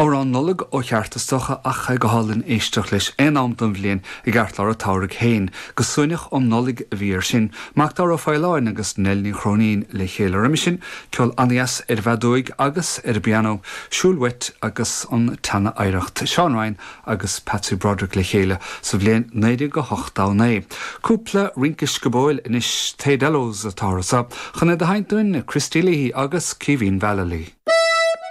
Amhrán Nollag ó cheart is dócha ach é go hálainn éisteacht leis aon am den bhliain i gceartlár an tsamhraidh féin. Go Suaimhneach um Nollaig a bhí air sin. Macdara Ó Faoláin agus Nell Ní Chróinín le chéile roimhe sin, ceol an-dheas ar an bhfeadóig agus ar an bpianó, Siúil Uait agus an tSeana-Oidhreacht, Seán Ryan agus Patsy Broderick le chéile sa bhliain 1989. Cúpla rince sciobóil anois, Taydello's atá anso chun iad a sheinnt dúinn, Christy Leahy agus Caoimhín Vallely.